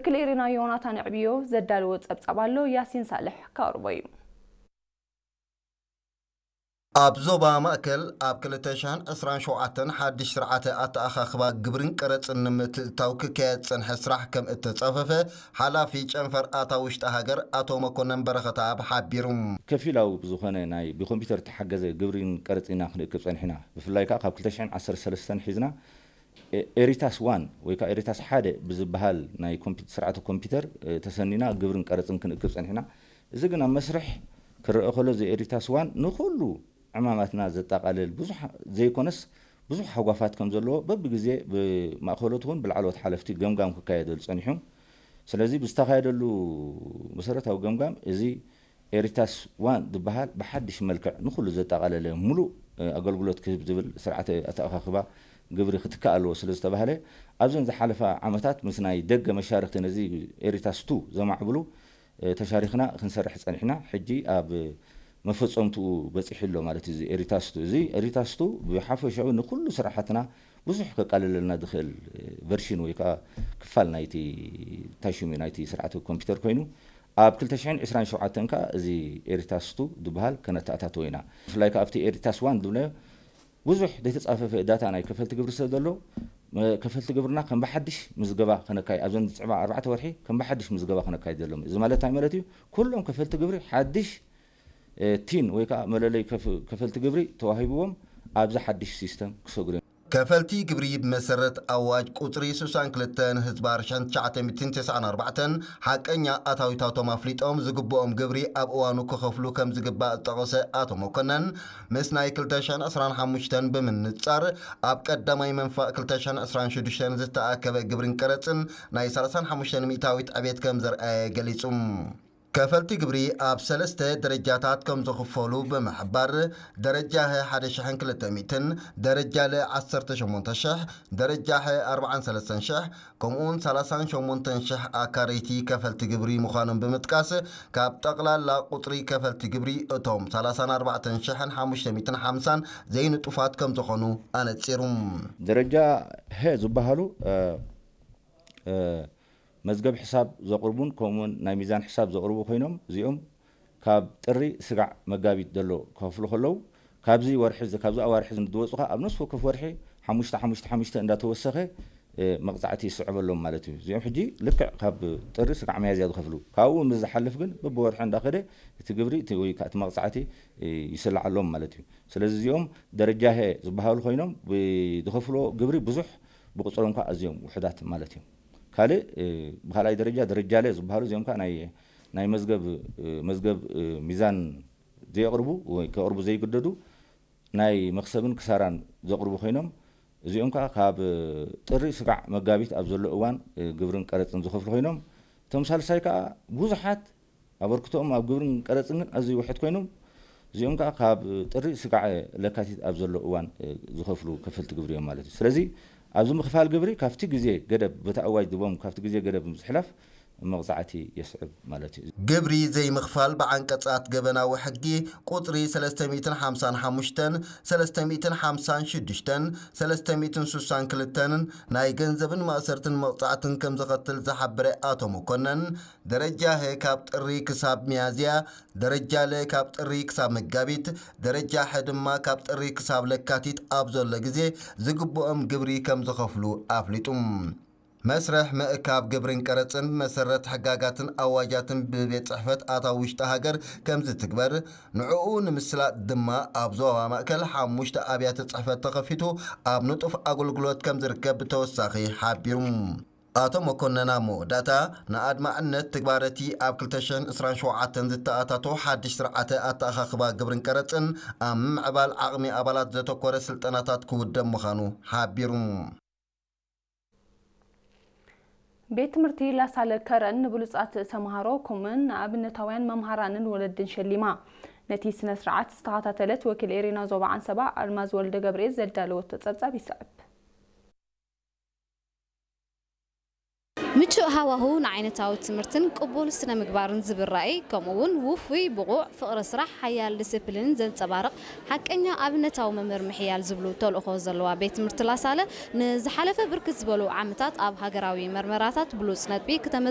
ክሌሪና ዮናታን ዕብዮ ዘዳለዎ ጸብጻብ ኣሎ፣ ያሲን ሳልሕ ከቕርቦ እዩ። ኣብ ዞባ ማእከል ኣብ ክልተ ሽሕን ዕስራን ሸውዓተን ሓድሽ ስርዓተ ኣተኣኻኽባ ግብርን ቀረጽን ንምትእትታው ክካየድ ዝጸንሐ ስራሕ ከም እተጻፈፈ ሓላፊ ጨንፈር ኣታዊ ውሽጢ ሃገር ኣቶ መኮነን በረኸተኣብ ሓቢሩ። ከፊላዊ ብዝኾነ ናይ ብኮምፒውተር እተሓገዘ ግብርን ቀረጽን ኢና ክንእክብ ጸኒሕና። ብፍላይ ከኣ ካብ ክልተ ሽሕን ዓሰርተ ሰለስተን ሒዝና ኤ-፣ ኤሪታስ ዋን ወይ ከዓ ኤሪታስ ሓደ ብዝበሃል ናይ ኮምፒ-፣ ስርዓተ ኮምፒውተር፣ እ፣ ተሰኒና ግብርን ቀረጽን ክንእክብ ጸኒሕና። እዚ ግን ኣብ መስርሕ ክረአ ከሎ፣ እዚ ኤሪታስ ዋን ንኹሉ ዕማማትና ዘጠቓልል ብዙሕ ዘይኮነስ፣ ብዙሕ ሃጓፋት ከም ዘለዎ በብግዜ ብማእከሎት እውን ብላዕለዎት ሓለፍቲ ገምጋም ክካየደሉ ጸኒሑ። ስለዚ ብዝተኻየደሉ መሰረታዊ ገምጋም፣ እዚ ኤሪታስ ዋን ዝበሃል ብሓድሽ መልክዕ ንኹሉ ዘጠቓለለ ምሉእ፣ እ፣ ኣገልግሎት ክህብ ዝብል ስርዓተ ኣተኣኻኽባ ግብሪ ክትካእ ኣለዎ ስለ ዝተባህለ፣ ኣብዘን ዝሓለፋ ዓመታት ምስ ናይ ደገ መሻርኽቲ ነዚ ኤሪታስ ቱ ዘማዕብሉ፣ እ፣ ተሻሪኽና ክንሰርሕ ጸኒሕና። ሕጂ ኣብ መፈጸምትኡ በጺሑ ኣሎ ማለት እዩ። እዚ ኤሪታስ ቱ፣ እዚ ኤሪታስ ቱ ብሓፈሻዊ ንኹሉ ስራሓትና ብዙሕ ከቃልለልና ዝኽእል፣ እ፣ ቨርሽን ወይ ከዓ ክፋል ናይቲ ታሽሙ ናይቲ ስርዓተ ኮምፒውተር ኮይኑ፣ ኣብ ክልተ ሽሕን ዕስራን ሸውዓተን ከኣ እዚ ኤሪታስ ቱ ዝበሃል ከነተኣታትዎ ኢና። ብፍላይ ከኣ ኣብቲ ኤሪታስ ዋን ዝብለዮ ብዙሕ ዘይተጻፈፈ ዳታ ናይ ከፈልቲ ግብሪ ስለ ዘሎ፣ መ-፣ ከፈልቲ ግብርና ከም ብሓድሽ ምዝገባ ከነካይ-፣ ኣብዘን ዝጽዕባ ኣርባዕተ ወርሒ ከም ብሓድሽ ምዝገባ ከነካይድ ዘሎም። እዚ ማለት እንታይ ማለት እዩ? ኩሎም ከፈልቲ ግብሪ ሓድሽ፣ እ፣ ቲን ወይ ከኣ መለለይ ከፍ-፣ ከፈልቲ ግብሪ ተዋሂብዎም ኣብዚ ሓድሽ ሲስተም ክሰግሩ እዮም። ከፈልቲ ግብሪ ብመሰረት ኣዋጅ ቁጽሪ ስሳን ክልተን ህዝባር ሽሕን ትሽዓተ ሚእትን ተስዓን ኣርባዕተን ሓቀኛ ኣታዊታቶም ኣፍሊጦም ዝግብኦም ግብሪ ኣብ እዋኑ ክኸፍሉ ከም ዝግባእ ዝጠቐሰ ኣቶ መኮነን፣ ምስ ናይ ክልተ ሽሕን ዕስራን ሓሙሽተን ብምንጻር፣ ኣብ ቀዳማይ መንፋእ ክልተ ሽሕን ዕስራን ሽዱሽተን ዝተኣከበ ግብርን ቀረጽን ናይ ሰላሳን ሓሙሽተን ሚእታዊት ዕቤት ከም ዘርኣየ ገሊጹ። ከፈልቲ ግብሪ ኣብ ሰለስተ ደረጃታት ከም ዝኽፈሉ ብምሕባር፣ ደረጃ ሀ ሓደ ሽሕን ክልተ ሚእትን፣ ደረጃ ለ ዓሰርተ ሸሞንተ ሽሕ፣ ደረጃ ሐ ኣርባዓን ሰለስተን ሽሕ፣ ከምኡውን ሰላሳን ሸሞንተን ሽሕ ኣካረይቲ ከፈልቲ ግብሪ ምዃኖም ብምጥቃስ፣ ካብ ጠቕላላ ቁጽሪ ከፈልቲ ግብሪ እቶም ሰላሳን ኣርባዕተን ሽሕን ሓሙሽተ ሚእትን ሓምሳን ዘይንጡፋት ከም ዝኾኑ ኣነጺሩ። ደረጃ ሀ ዝበሃሉ፣ እ፣ እ፣ መዝገብ ሕሳብ ዘቕርቡን ከምኡውን ናይ ሚዛን ሕሳብ ዘቕርቡ ኮይኖም፣ እዚኦም ካብ ጥሪ ስጋዕ መጋቢት ዘሎ ክኸፍሉ ከለዉ፣ ካብዚ ወርሒ እዚ፣ ካብዚ ኣዋርሒ እዚ ንዝወጹ ከኣ ኣብ ነፍሲ ወከፍ ወርሒ ሓሙሽተ፣ ሓሙሽተ፣ ሓሙሽተ እንዳተወሰኸ፣ እ፣ መቕጻዕቲ ይስዕበሎም ማለት እዩ። እዚኦም ሕጂ ልክዕ ካብ ጥሪ ስጋዕ ሚያዝያ ዝኸፍሉ። ካብኡ ምስ ዝሓልፍ ግን በብወርሒ እንዳኸደ እቲ ግብሪ፣ እቲ ወይ ከኣ እቲ መቕጻዕቲ፣ እ፣ ይስላዓሎም ማለት እዩ። ስለዚ እዚኦም ደረጃ ሀ ዝበሃሉ ኮይኖም፣ ብ-፣ ዝኸፍልዎ ግብሪ ብዙሕ፣ ብቁጽሮም ከኣ ኣዝዮም ውሑዳት ማለት እዮም። ካልእ፣ እ፣ ብኻልኣይ ደረጃ፣ ደረጃ ለ ዝበሃሉ፣ እዚኦም ከኣ ናይ፣ ናይ መዝገብ፣ እ፣ መዝገብ፣ እ፣ ሚዛን ዘየቕርቡ ወይ ከቕርቡ ዘይግደዱ፣ ናይ መኽሰብን ክሳራን ዘቕርቡ ኮይኖም፣ እዚኦም ከኣ ካብ ጥሪ ስጋዕ መጋቢት ኣብ ዘሎ እዋን፣ እ፣ ግብርን ቀረጽን ዝኸፍሉ ኮይኖም፣ እቶም ሳልሳይ ከኣ ብዙሓት ኣበርክቶኦም ኣብ ግብርን ቀረጽን ግን ኣዝዩ ውሑድ ኮይኖም፣ እዚኦም ከኣ ካብ ጥሪ ስጋዕ ለካቲት ኣብ ዘሎ እዋን፣ እ፣ ዝኸፍሉ ከፈልቲ ግብሪ እዮም ማለት እዩ። ስለዚ ኣብዚ ምኽፋል ግብሪ ካብቲ ግዜ ገደብ፣ በቲ ኣዋጅ ድቦም ካብቲ ግዜ ገደብ ምዝሕላፍ መቕጻዕቲ የስዕብ ማለት እዩ። ግብሪ ዘይምኽፋል ብዓንቀጻት ገበናዊ ሕጊ ቁጽሪ ሰለስተ ሚእትን ሓምሳን ሓሙሽተን፣ ሰለስተ ሚእትን ሓምሳን ሽዱሽተን፣ ሰለስተ ሚእትን ስሳን ክልተን ናይ ገንዘብን ማእሰርትን መቕጻዕትን ከም ዘኸትል ዝሓበረ ኣቶ መኮነን፣ ደረጃ ሀ ካብ ጥሪ ክሳብ ሚያዝያ፣ ደረጃ ለ ካብ ጥሪ ክሳብ መጋቢት፣ ደረጃ ሐ ድማ ካብ ጥሪ ክሳብ ለካቲት ኣብ ዘሎ ግዜ ዝግብኦም ግብሪ ከም ዝኸፍሉ ኣፍሊጡ። መስርሕ ምእካብ ግብርን ቀረጽን ብመሰረት ሕጋጋትን ኣዋጃትን ብቤት ጽሕፈት ኣታዊ ውሽጢ ሃገር ከም ዝትግበር፣ ንዕኡ ንምስላጥ ድማ ኣብ ዞባ ማእከል ሓሙሽተ ኣብያተ ጽሕፈት ተኸፊቱ ኣብ ንጡፍ ኣገልግሎት ከም ዝርከብ ብተወሳኺ ሓቢሩ። ኣቶ መኮነን ኣብ መወዳእታ፣ ንኣድማዕነት ትግባረቲ ኣብ ክልተ ሽሕን ዕስራን ሸውዓተን ዝተኣታቶ ሓድሽ ስርዓተ ኣተኣኻኽባ ግብርን ቀረጽን ኣብ ምምዕባል ዓቕሚ ኣባላት ዘተኮረ ስልጠናታት ክውደብ ምዃኑ ሓቢሩ። ቤት ትምህርቲ ላሳለ ከረን ንብሉጻት ተምሃሮ ከምኡውን ንኣብነታውያን መምሃራንን ወለድን ሸሊማ። ነቲ ስነ ስርዓት ዝተኸታተለት ወኪል ኤሪና ዞባ ዓንሰባ ኣልማዝ ወልደ ገብርኤል ዘዳለወቶ ጸብጻብ ይስዕብ። ምቹእ ሃዋሁ ንዓይነታዊ ትምህርትን ቅቡል ስነ ምግባርን ዝብል ራእይ፣ ከምኡ እውን ውፉይ፣ ብቑዕ፣ ፍቕሪ ስራሕ፣ ሓያል ዲስፕሊንን ዘንጸባርቕ ሓቀኛ ኣብነታዊ መምህር ምሕያል ዝብሉ ተልእኾ ዘለዋ ቤት ትምህርቲ ላሳለ፣ ንዝሓለፈ ብርክት ዝበሉ ዓመታት ኣብ ሃገራዊ መርመራታት ብሉጽ ነጥቢ ክተመዝ